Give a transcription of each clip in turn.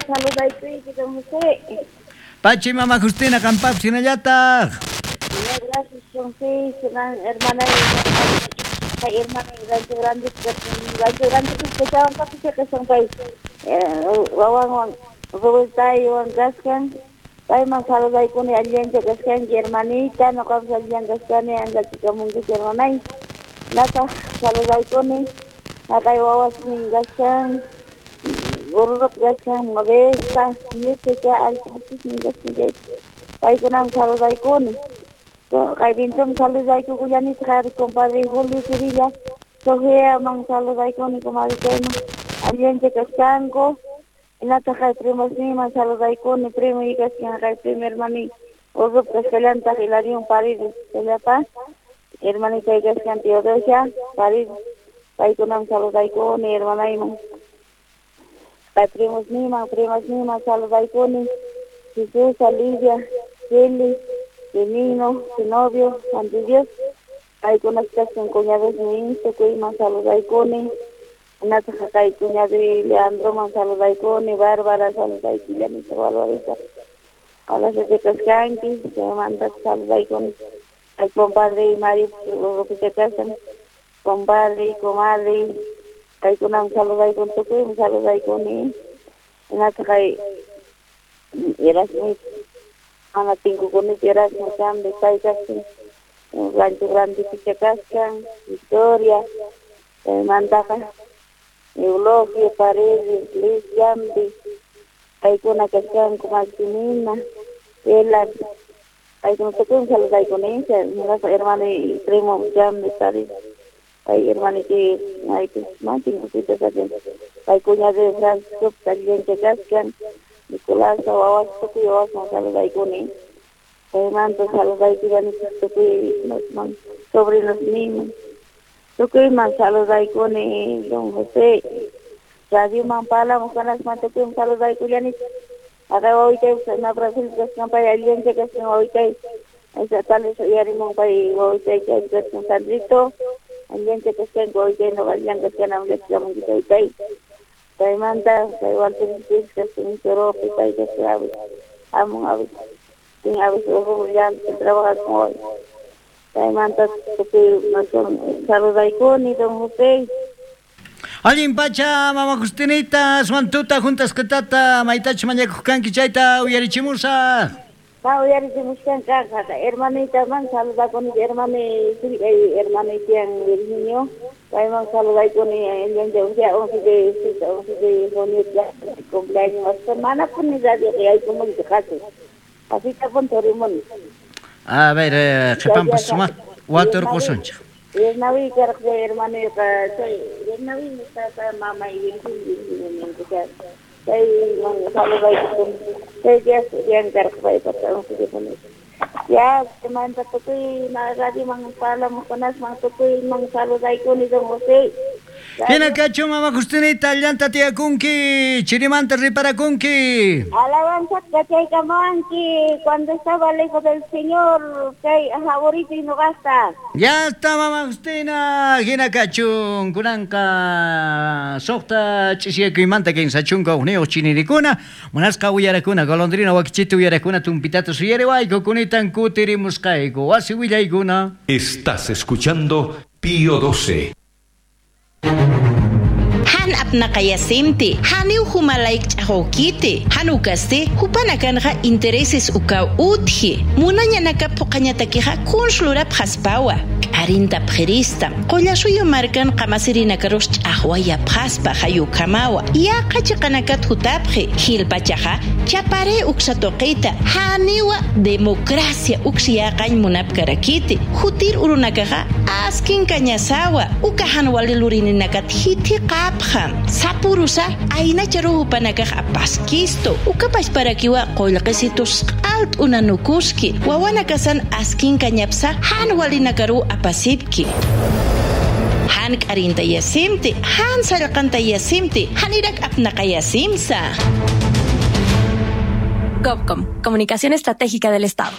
Saludaykuyki, don José. Pachi mama Justina qampapis hinallataq. Gracias, don José. Hermana, hermana, Rancho Grande, Rancho Grande, kashan pay wawanwan Robertaywan kashan. Payman saludaykuni allincha kashanki, hermanita, noqapas allillan kashkani, anchachikamunkichik, hermanay. Nataq saludaykuni haqay wawasnin kashan, Gorrop kashan, Modesta, Ñutecha, allinchiknin kashan chaypi. Paykunaman saludaykuni. Kaypintum saludaykukullanitaq compadre Julio Sevilla, Sofiaman saludaykuni, comadre chayman allincha kashanku. Hinataq kay primosninman saludaykuni, primo kashan kay primo hermani Urrup kashkallantaq Hilarión Paredes kallapa, hermanitay kashan Teodosia Paredes, paykunaman saludaykuni, hermanayman. Kay primosninman, primasninman saludaykuni, Jesús, Alicia, Kelly, Benigno, Zenobio, Juan de Dios, paykunas kashan cuñadosnin, tukuyman saludaykuni. Hinataq kay cuñado Leandroman saludaykuni, Bárbara saludaykullanita, Barbarita. Hola, se te kaskanki, chaymanta saludaykuni. Kay compadre Mario Urrupicha kashan, compadre, comadre, paykunaman saludaykuni, tukuyman saludaykuni. Hinataq kay Erasmo, mana tinkukunichu Erasmo Chambi, pay kashan, Rancho Grande picha kashan, Victoria, chaymantaqa Eulogio, Paredes, Luis Chambi, paykuna kashanku, Maximina, Ela, paykuna tukuyman saludaykuni, hinaspa hermano y primo Chambi, Paredes, pay hermanito maypis mana tinkukuyta kashan, pay cuñado Francisco allincha kashan, Nicolás, wawas tukuy wawasman saludaykuni. Chaymanta saludaykullanitaq tukuy sobrinosninman. Tukuyman saludaykuni, don José. Radioman parlamuq kanasman tukuyman saludaykullanitaq. Haqay wawitaypas na Brasil kashan pay allincha kashan wawitay. Esa tal vez uyarimun pay wawitay chay kashan Sandrito. Allincha kashanku wawitay noqa allillan kashkani llakchamunki taytay. Chaymanta kay Walter kashan Choropi pay kashan avis hamun avis tin avis llanta trabaja con hoy. Chaymanta tukuy saludaykuni, don José. Allin pacha, mama Justinita, suantuta juntasqatata maytachu mañakuq kanki chayta uyarichimusaq. Pa uyarichimushkanqa hermanitaman saludakuni, hermani kay hermanitian Virginio, payman saludaykuni allincha 11 de junio cumpleaños, manapuni radio yaykumunchu qasi. Así punto rimuni. A ver, qhipanpas sumaq waturqusunchik. Yernawi karqa hermanuyqa chay Yernawi nisqaqa mamay Virginio ninku chay saludaykuni. Chay dias karqa paypata 11 de junio. Ya, manta tukuy radioman parlamuqkunasman tukuyman saludaykuni, don José. Hina kachu mama Justinita, allanta tiyakunki, chirimanta riparakunki. Alabanza kachaykamuwanki cuando estaba lejos del Señor, kay favorito y no gasta. Ya está mama Justina, hina kachun, kunanqa suqta ch'isiyakuymanta kinsa chunka hukniyuq chinirikuna, munasqa uyarakuna, golondrina wakichita uyarakuna, tumpitata suyariwayku, kunitan kutirimusqayku, wasi willaykuna. Estás escuchando Pío 12. Han apnaqayasimti, haniw humalayk ch'aqawkiti, hanukasti, hupanakanja intereses ukaw utji, munañanaka puqañatakiqa kunslurap haspawa, k'arinta pqirista, qullasuyu markan qamasirinakaruq ch'aqwaya phaspa hayukamawa, yaqa chiqanakat hutapqi, hilpachaqa chapare uksatoqita, haniwa democracia uksiyaqañ munapkarakiti, hutir urunakaqa askin kañasawa, ukahan walilurinakat hiti qapqa, sapurusa aynacharu hupanakaq apaskisto, ukapash parakiwa qullqisitus q'alt unanukuski, wawanakasan askin kañapsa han walinakaru apasipki. Han k'arinta yasimti, han sallqanta yasimti, han irak apnaqayasimsa. GovCom, Comunicación Estratégica del Estado.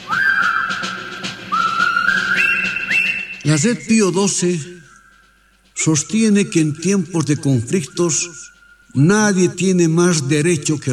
La Red Pío 12 sostiene que en tiempos de conflictos nadie tiene más derecho que